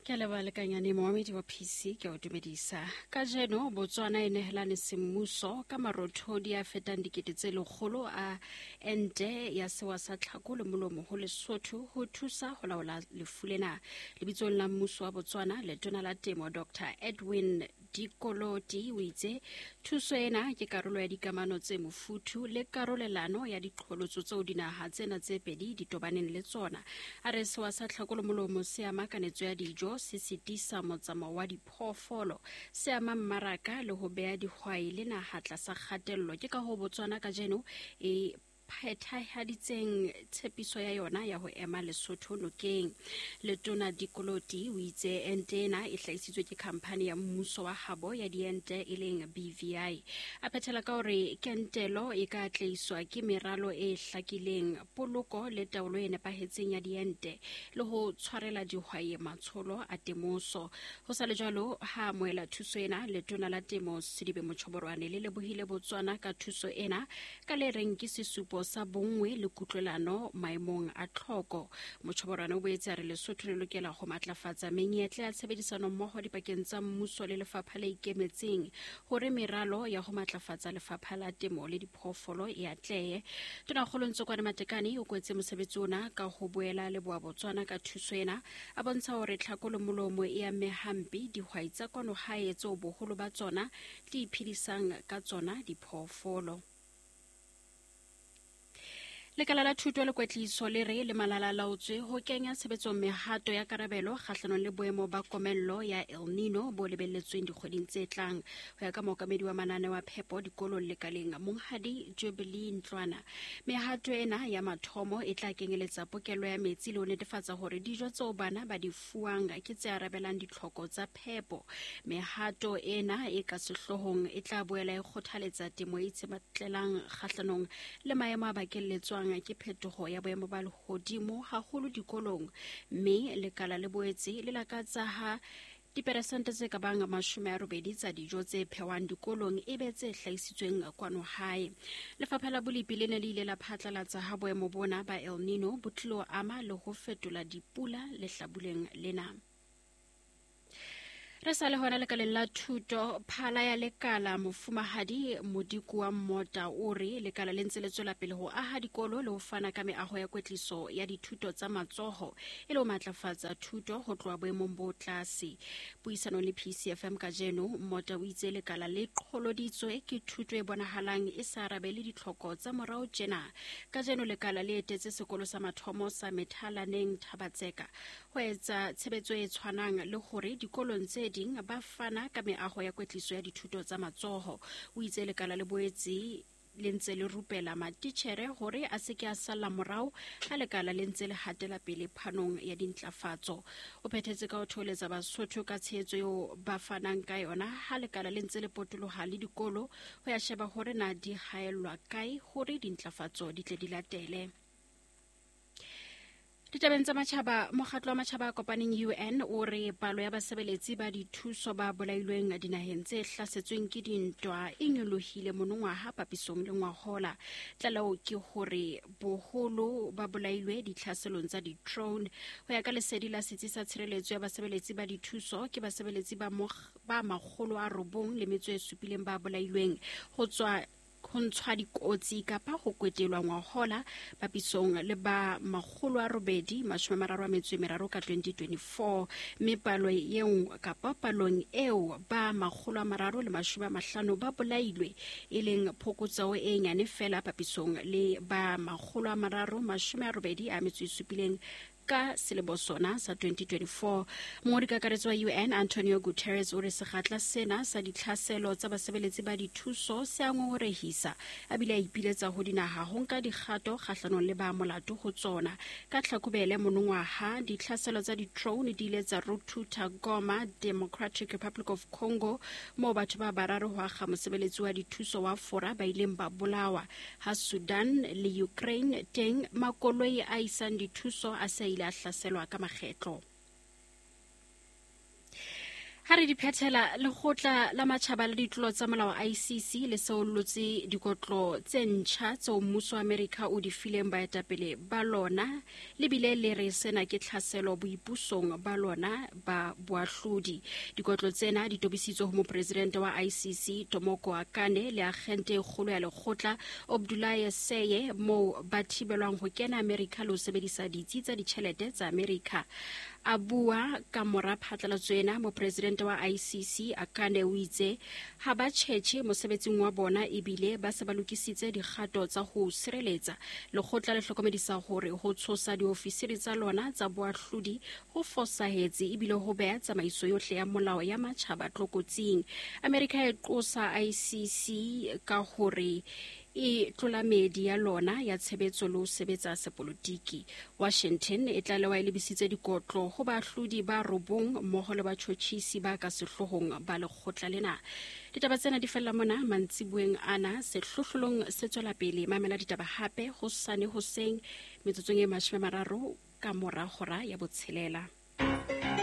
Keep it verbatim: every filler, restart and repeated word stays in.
Ke a leboha lekanyane moamedi wa P C ke o dumedisa. Kajeno Botswana e nehelane semmuso ka marothodi a fetang dikete tse lekgolo a ente ya sewa sa tlhako le molomo ho Lesotho ho thusa ho laola lefu lena. Lebitsong la mmuso wa Botswana, letona la temo Doctor Edwin Dikoloti o itse thuso ena ke karolo ya dikamano tse mofuthu le karolelano ya diqholotso tseo dinaha tsena tse pedi di tobaneng le tsona. A re sewa sa tlhako le molomo se ama kanetso ya dijo, se sitisa motsamao wa diphoofolo, se ama mmaraka le ho beha dihwai le naha tlasa kgatello. Ke ka ho Botswana kajeno e phethahaditseng tshepiso ya yona ya ho ema Lesotho nokeng. Letona Dikoloti o itse ente ena e hlahisitswe ke khamphani ya mmuso wa habo ya diente e leng B V I. A phethela ka hore kentelo e ka atlehiswa ke meralo e hlakileng, poloko le taolo e nepahetseng ya diente le ho tshwarela dihwai matsholo a temoso. Ho sa le jwalo, ha amohela thuso ena, letona la temo Sedibe Mochoborwane le lebohile Botswana ka thuso ena ka le reng ke sesupo sa bonngwe le kutlwelano maemong a tlhoko. Mochoborwane o boetse a re Lesotho le lokela ho matlafatsa menyetla ya tshebedisano mmoho dipakeng tsa mmuso le lefapha le ikemetseng hore meralo ya ho matlafatsa lefapha la temo le diphoofolo e atlehe. Tonakgolo Ntsokoane Matekane o kwetse mosebetsi ona ka ho boela leboha Botswana ka thuso ena, a bontsha hore tlhako le molomo e amme hampe dihwai tsa kwano hae tseo boholo ba tsona di iphedisang ka tsona diphoofolo. Lekala la thuto le kwetliso le re le malala laotswe ho kenya tshebetsong mehato ya karabelo kgahlanong le boemo ba komello ya El Nino bo lebelletsweng dikgweding tse tlang. Ho ya ka mookamedi wa mananeo a phepo dikolong lekaleng Monghadi Jubilee Ntlwana, mehato ena ya mathomo e tla kenyeletsa pokello ya metsi le ho netefatsa hore dijo tseo bana ba di fuwang ke tse arabelang ditlhoko tsa phepo. Mehato ena e ka sehloohong e tla boela e kgothaletsa temo e itshetlelang kgahlanong le maemo a bakelletswang ke phetoho ya boemo ba lehodimo haholo dikolong, mme lekala le boetse le lakatsa ha diperesente tse ka bang mashome a robedi tsa dijo tse phehwang dikolong e be tse hlahisitsweng kwano hae. Lefapha la Bolipi le ne le ile la phatlalatsa ha boemo bona ba El Nino bo tlilo ama le ho fetola dipula lehlabuleng lena. Re sa le hona lekaleng la thuto, phala ya lekala mofumahadi Modiko wa Mmota o re lekala le ntse le tswela pele ho aha dikolo le ho fana ka meaho ya kwetliso ya dithuto tsa matsoho e le ho matlafatsa thuto ho tloha boemong bo tlase. Puisanong le P C F M kajeno, Mmota o itse lekala le qholoditswe ke thuto e bonahalang e sa arabele ditlhoko tsa morao tjena. Kajeno lekala le etetse sekolo sa mathomo sa Methalaneng Thabatseka ho etsa tshebetso e tshwanang le hore dikolong tse ding ba fana ka meaho ya kwetliso ya dithuto tsa matsoho. O itse lekala le boetse le ntse le rupela matitjhere hore a se ke a salla morao ha lekala le ntse le hatela pele phanong ya dintlafatso. O phethetse ka ho thoholetsa Basotho ka tshehetso eo ba fanang ka yona ha lekala le ntse le potoloha le dikolo ho ya sheba hore na di haellwa kae hore dintlafatso di tle di latele. Ditabeng tsa matjhaba, mokgatlo wa matjhaba a kopaneng U N o re palo ya basebeletsi ba dithuso ba bolailweng dinaheng tse hlasetsweng ke dintwa e nyolohile monongwaha papisong le ngwahola. Tlaleho ke hore boholo ba bolailwe ditlhaselong tsa di-drone. Ho ya ka lesedi la setsi sa tshireletso ya basebeletsi ba dithuso, ke basebeletsi ba ba makgolo a robong le metso e supileng ba bolailweng ho tswa ho ntshwa dikotsi kapa ho kwetelwa ngwahola papisong le ba makgolo a robedi mashome a mararo a metso e meraro ka twenty twenty-four, mme palo eo kapa palong eo ba makgolo a mararo le mashome a mahlano ba bolailwe, e leng phokotseho e nyane fela papisong le ba makgolo a mararo mashome a robedi a metso e supileng ka selemo sona sa twenty twenty-four. Mongodi kakaretso wa U N Antonio Guterres o re sekgatla sena sa ditlhaselo tsa basebeletsi ba dithuso se a ngongorehisa, a bile a ipiletsa ho dinaha ho nka dikgato kgahlanong le ba molato ho tsona. Ka Tlhakubele monongwaha, ditlhaselo tsa di-drone di ile tsa ruthutha Goma, Democratic Republic of Congo, moo batho ba bararo ho akga mosebeletsi wa dithuso wa Fora ba ileng ba bolawa. Ha Sudan le Ukraine teng makoloi a isang dithuso a se a hlaselwa ka makgetlo. Ha re di phethela, lekgotla la matjhaba la ditlolo tsa molao I C C le seollotse dikotlo tse ntjha tseo mmuso wa Amerika o di fileng baetapele ba lona, le bile le re sena ke tlhaselo boipusong ba lona ba boahlodi. Dikotlo tsena di tobisitswe ho mopresidente wa I C C Tomoko Akane le agente e kgolo ya lekgotla Abdoulaye Seye, moo ba thibelwang ho kena Amerika le ho sebedisa ditsi tsa ditjhelete tsa Amerika. A bua ka mora phatlalatso ena, mopresidente wa I C C Akane o itse ha ba tjhetjhe mosebetsing wa bona ebile ba se ba lokisitse dikgato tsa ho sireletsa. Lekgotla le hlokomedisa hore ho tshosa diofisiri tsa lona tsa boahlodi ho fosahetse ebile ho beha tsamaiso yohle ya molao ya matjhaba tlokotsing. Amerika e qosa I C C ka hore e tlola meedi ya lona ya tshebetso le ho sebetsa sepolotiki. Washington e tlalewa e lebisitse dikotlo ho baahlodi ba robong mmoho le batjhotjhisi ba ka sehloohong ba lekgotla lena. Ditaba tsena di fella mona mantsibueng ana. Sehlohlolong se tswela pele. Mamela ditaba hape hosane hoseng metsotsong e mashome a mararo ka mora hora ya botshelela.